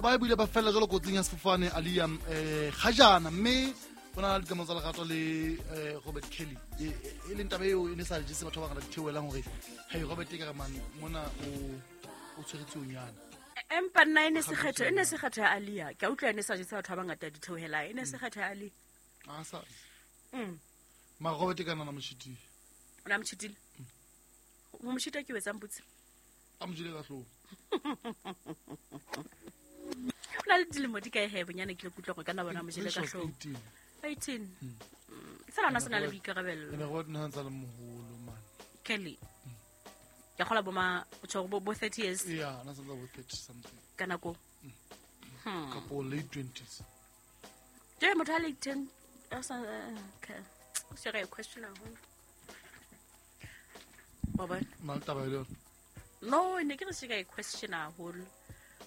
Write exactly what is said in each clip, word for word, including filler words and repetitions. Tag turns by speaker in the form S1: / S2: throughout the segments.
S1: Ba buile ba fella jalo kotsing ya sefofane Aaliyah eh gajana mme bona le dikamano tsa lerato le eh, Robert Kelly e e leng taba eo e ne sa jese batho ba bangata di theohelang hore hey Robert e ka re man mona o o tshwere tsuonyana.
S2: Empa nna e ne se kgetho, e ne se kgetho ya Aaliyah. Ke a utlwa e ne sa jese batho ba bangata di theohelang. E ne se kgetho ya Aaliyah.
S1: A sa
S2: Mm.
S1: ma Robert e ka nana moshitile.
S2: O na moshitile? Ho moshita ke o etsang botse?
S1: A mo jele ka hlooho.
S2: O na le dilemo di kae he bonyane ke le kutlwa gore ka nna bona mo jele ka hlooho.
S1: Eighteen.
S2: Eighteen. Fela ona se na le boikarabello.
S1: Ene Robert nna ntse le moholo man.
S2: Kelly. Ke kgola bo ma o tjho bo bo thirty years.
S1: Yeah, na santse bo thirty something.
S2: Ka nako.
S1: Hmm. Kapo late twenties.
S2: Je motho a le ten a sa okay. O se re question haholo. Wa bona?
S1: Na le taba e le yona?
S2: No, ne ke re se ka question haholo.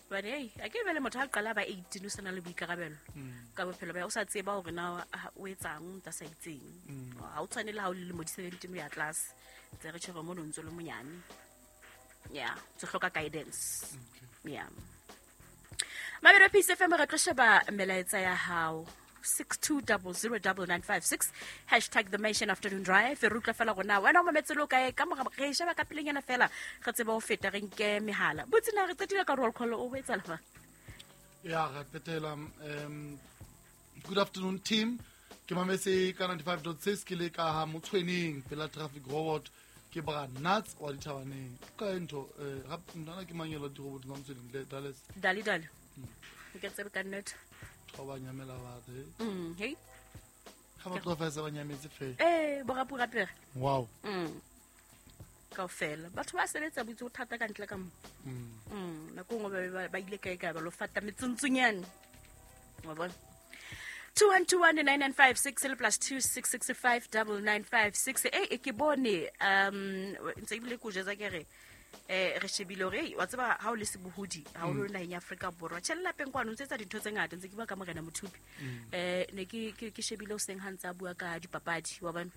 S2: But hey, a ke bele motho a qala ba eighteen o sena le boikarabelo. Ka bophelo ba o sa tseba hore na o etsang ta sa itseng. Ha o tshwane le ha o le lemo di seventeen o ya class. Tse re tjhebe mono ntse le monyane. Yeah, tse hloka guidance.
S1: Okay.
S2: Yeah. Mabelo Peace F M re tlo sheba melaetsa ya hao. six two zero zero nine nine five six hashtag the Mansion Afternoon Drive. Re utlwa fela rona wena o mametse lo kae ka mora re sheba ka pelenyana fela re tsebe ho feta re nke mehala. Botse na re qetile ka roll call o ho etsahala fa?
S1: Ya re qetela um good afternoon team. Ke mametse ka ninety-five point six ke le ka ha Motshweneng pela traffic robot ke bra nuts wa dithabaneng. Ka ntho eh nna ke mangelo di robot tsa Motshweneng le Dallas.
S2: Dali dali. Ke tsebe ka nnete.
S1: Ba nyamela batho.
S2: Mm, hey.
S1: Ha ba tloha fa ba nyametse fela.
S2: Eh, bo rapu rapere.
S1: Wow.
S2: Mm. Kaofela. Batho ba sebetsa botse ho thata ka ntle ka mo.
S1: Mm.
S2: Mm, nako nngwe ba ba ile kae kae ba lo fata metsuntsunyane. Wa bona? two one two one nine nine five six plus two six six five double nine five six. Eh, ke bone um ntse ebile ke o jwetsa ke re eh re shebile hore wa tseba ha o le sebohodi ha o le naheng ya Afrika Borwa tjhe lapeng kwano ntse etsa dintho tse ngata ntse ke bua ka Morena Mothupi eh ne ke ke shebile o seng ha ntse a bua ka dipapadi wa bona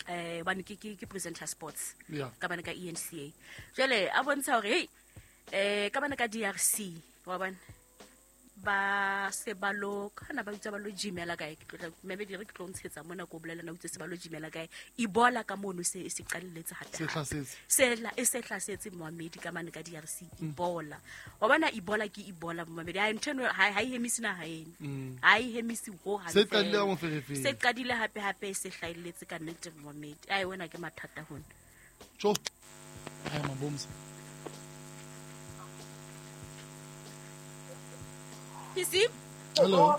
S2: eh bane ke ke ke presenter sports ka bana ka E N C A jwale a bontsha hore hey eh ka bana ka D R C wa bona ba se ba lo kana ba itse ba lo gymela kae ke tlo maybe di re ke tlo ntshetsa mona ko bolela na utse se ba lo gymela kae Ebola ka mono se se qalelletse hape
S1: se hlasetse
S2: se la e se hlasetse Mohamedi ka mane ka D R C Ebola wa bona Ebola ke Ebola Mohamedi ha ntho ha e hemisi na ha ene ha e hemisi ho ha
S1: se qadile mo ferefeng
S2: se qadile hape hape se hlaelletse ka nnete Mohamedi ai wena ke mathata hona
S1: tjo ha mabomsa
S2: P C?
S1: Hello.